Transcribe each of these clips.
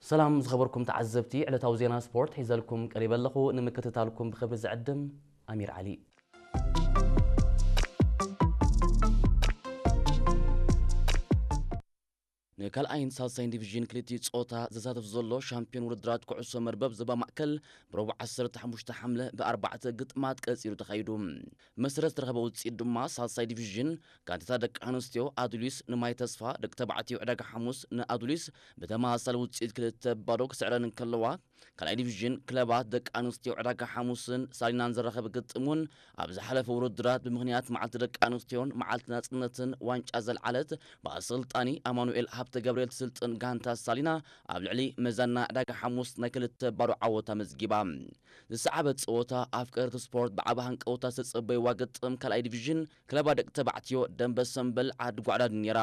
ሰላም ዝኸበርኩም ተዓዘብቲ፣ ዕለታዊ ዜና ስፖርት ሒዘልኩም ቀሪበ ኣለኹ። ንምክትታልኩም ብኽብሪ ዝዕድም ኣሚር ዓሊ። ንካልኣይን ሳልሳይን ዲቪዥን ክልቲኡ ጾታ ዘሳተፍ ዘሎ ሻምፒዮን ውድድራት ኩዕሶ መርበብ ዞባ ማእከል ብረቡዕ ዓሰርተ ሓሙሽተ ሓምለ ብኣርባዕተ ግጥማት ቀጺሉ ተኻይዱ። መሰረት ዝተረኸበ ውጽኢት ድማ ሳልሳይ ዲቪዥን ጋንታታት ደቂ ኣንስትዮ ኣዱሊስ ንማይ ተስፋ፣ ደቂ ተባዕትዮ ዕዳጋ ሓሙስ ንኣዱሊስ ብተመሳሳሊ ውጽኢት ክልተ ባዶ ክስዕረን እንከለዋ፣ ካልኣይ ዲቪዥን ክለባት ደቂ ኣንስትዮ ዕዳጋ ሓሙስን ሳሊናን ዘራኸበ ግጥም እውን ኣብ ዝሓለፈ ውድድራት ብምኽንያት መዓልቲ ደቂ ኣንስትዮን መዓልቲ ናጽነትን ዋንጫ ዘልዓለት ብኣሰልጣኒ ኣማኑኤል ሃብተ ገብርኤል ትስልጥን ጋንታ ሳሊና ኣብ ልዕሊ መዛና ዕዳጋ ሓሙስ ናይ ክልተ ባዶ ዓወት ኣመዝጊባ። ዝሰዓበ ጸወታ ኣፍቀርቲ ስፖርት ብዓቢ ሃንቀውታ ዝተጸበይዋ ግጥም ካልኣይ ዲቪዥን ክለባ ደቂ ተባዕትዮ ደንበ ሰምበል ዓዲ ጓዕዳድ ነይራ።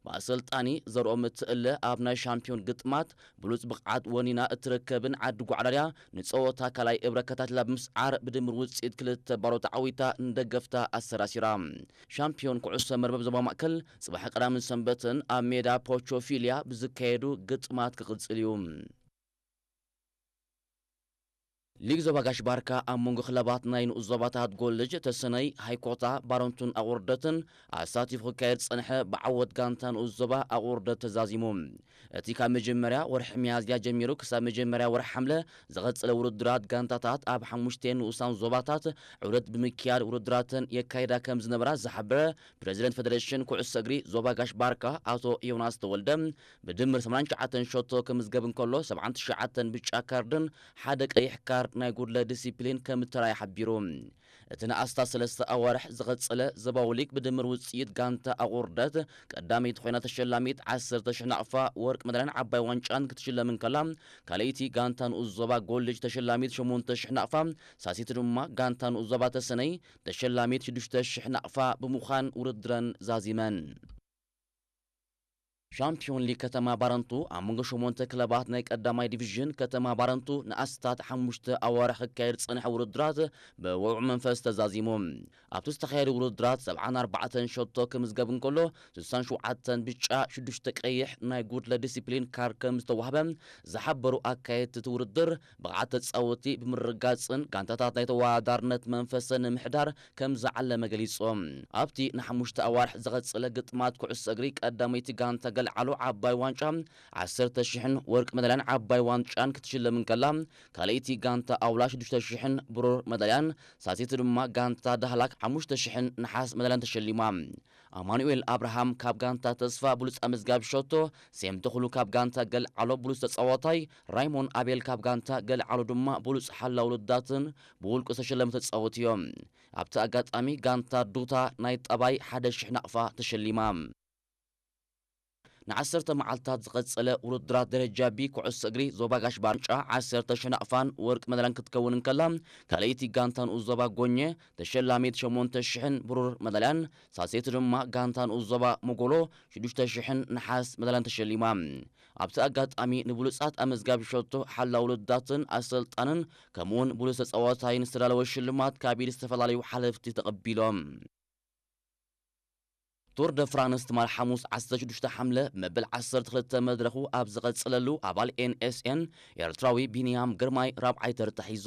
ብኣሰልጣኒ ዘርኦም እትእለ ኣብ ናይ ሻምፒዮን ግጥማት ብሉጽ ብቕዓት ወኒና እትርከብን ዓዲ ጓዕዳድያ ንጸወታ ካልኣይ እብረ ከታቲላ ብምስዓር ብድምር ውጽኢት ክልተ ባዶ ተዓዊታ ንደገፍታ ኣሰራሲራ። ሻምፒዮን ኩዕሶ መርበብ ዞባ ማእከል ጽባሕ ቀዳምን ሰንበትን ኣብ ሜዳ ፖቾፊልያ ብዝካየዱ ግጥማት ክቕጽል እዩ። ሊግ ዞባ ጋሽ ባርካ ኣብ መንጎ ክለባት ናይ ንኡስ ዞባታት ጎልጅ፣ ተሰነይ፣ ሃይኮታ፣ ባረንቱን ኣቑርደትን ኣሳቲፉ ክካየድ ዝጸንሐ ብዓወት ጋንታ ንኡስ ዞባ ኣቑርደት ተዛዚሙ። እቲ ካብ መጀመርያ ወርሒ ሚያዝያ ጀሚሩ ክሳብ መጀመርያ ወርሒ ሓምለ ዝቐጸለ ውድድራት ጋንታታት ኣብ ሓሙሽተ ንኡሳን ዞባታት ዑደት ብምክያድ ውድድራተን የካይዳ ከም ዝነበራ ዝሓበረ ፕረዚደንት ፌደሬሽን ኩዕሶ እግሪ ዞባ ጋሽ ባርካ ኣቶ ዮናስ ተወልደ፣ ብድምር ሰማንያን ትሽዓተን ሸቶ ክምዝገብ እንከሎ፣ ሰብዓን ትሽዓተን ብጫ ካርድን ሓደ ቀይሕ ካርድ ናይ ጉድለት ዲሲፕሊን ከም እተራእየ ሓቢሩ። እቲ ንኣስታት ሰለስተ ኣዋርሕ ዝቐጸለ ዞባዊ ሊግ ብድምር ውጽኢት ጋንታ ኣቑርደት ቀዳመይቲ ኮይና ተሸላሚት ዓሰርተ ሽሕ ናቕፋ ወርቂ መዳልያን ዓባይ ዋንጫን ክትሽለም እንከላ፣ ካልኣይቲ ጋንታ ንኡስ ዞባ ጎልጅ ተሸላሚት ሸሞንተ ሽሕ ናቕፋ፣ ሳሲቲ ድማ ጋንታ ንኡስ ዞባ ተሰነይ ተሸላሚት ሽዱሽተ ሽሕ ናቕፋ ብምዃን ውድድረን ዛዚመን። ሻምፒዮን ሊግ ከተማ ባረንቱ ኣብ መንጎ ሸሞንተ ክለባት ናይ ቀዳማይ ዲቪዥን ከተማ ባረንቱ ንኣስታት ሓሙሽተ ኣዋርሕ ክካየድ ዝጸንሐ ውድድራት ብውዑዕ መንፈስ ተዛዚሙ። ኣብቲ ዝተኻየደ ውድድራት ሰብዓን ኣርባዕተን ሸቶ ክምዝገብ እንከሎ፣ ስሳን ሸውዓተን ብጫ፣ ሽዱሽተ ቀይሕ ናይ ጉድለት ዲሲፕሊን ካርድ ከም ዝተዋህበ ዝሓበሩ ኣካየድቲ እቲ ውድድር፣ ብቕዓት ተጻወትቲ ብምርግጋጽን ጋንታታት ናይ ተወዳዳርነት መንፈሰን ንምሕዳር ከም ዝዓለመ ገሊጾም። ኣብቲ ንሓሙሽተ ኣዋርሕ ዝቐጸለ ግጥማት ኩዕሶ እግሪ ቀዳመይቲ ጋንታ ገልዓሎ ዓባይ ዋንጫ ዓሰርተ ሽሕን ወርቂ መዳልያን ዓባይ ዋንጫን ክትሽለም እንከላ፣ ካልኣይቲ ጋንታ ኣውላ ሽዱሽተ ሽሕን ብሩር መዳልያን፣ ሳሲቲ ድማ ጋንታ ዳህላክ ሓሙሽተ ሽሕን ነሓስ መዳልያን ተሸሊማ። ኣማኑኤል ኣብርሃም ካብ ጋንታ ተስፋ ብሉጽ ኣመዝጋቢ ሸቶ፣ ሴም ተኽሉ ካብ ጋንታ ገልዓሎ ብሉጽ ተጻዋታይ፣ ራይሞን ኣቤል ካብ ጋንታ ገልዓሎ ድማ ብሉጽ ሓላው ውድድራትን ብውልቁ ዝተሸለሙ ተጻወቲ እዮም። ኣብቲ ኣጋጣሚ ጋንታ ዱታ ናይ ጠባይ ሓደ ሽሕ ናቕፋ ተሸሊማ። ንዓሰርተ መዓልታት ዝቐጸለ ውድድራት ደረጃ ቢ ኩዕሶ እግሪ ዞባ ጋሽ ባርንጫ ዓሰርተ ሽሕ ናቕፋን ወርቂ መዳልያን ክትከውን እንከላ፣ ካልኣይቲ ጋንታ ንኡስ ዞባ ጎኘ ተሸላሚት ሸሞንተ ሽሕን ብሩር መዳልያን፣ ሳሴቲ ድማ ጋንታ ንኡስ ዞባ ሞጎሎ ሽዱሽተ ሽሕን ነሓስ መዳልያን ተሸሊማ። ኣብቲ ኣጋጣሚ ንብሉጻት ኣመዝጋቢ ሸቶ፣ ሓላው ውድድራትን ኣሰልጣንን ከምኡውን ብሉጽ ተጻዋታይን ዝተዳለወ ሽልማት ካብ ኢድ ዝተፈላለዩ ሓለፍቲ ተቐቢሎም። ቱር ደ ፍራንስ ትማል ሓሙስ ዓሰርተ ሽዱሽተ ሓምለ መበል ዓሰርተ ክልተ መድረኹ ኣብ ዝቐጽለሉ ኣባል ኤን ኤስ ኤን ኤርትራዊ ቢንያም ግርማይ ራብዓይ ተርታ ሒዙ።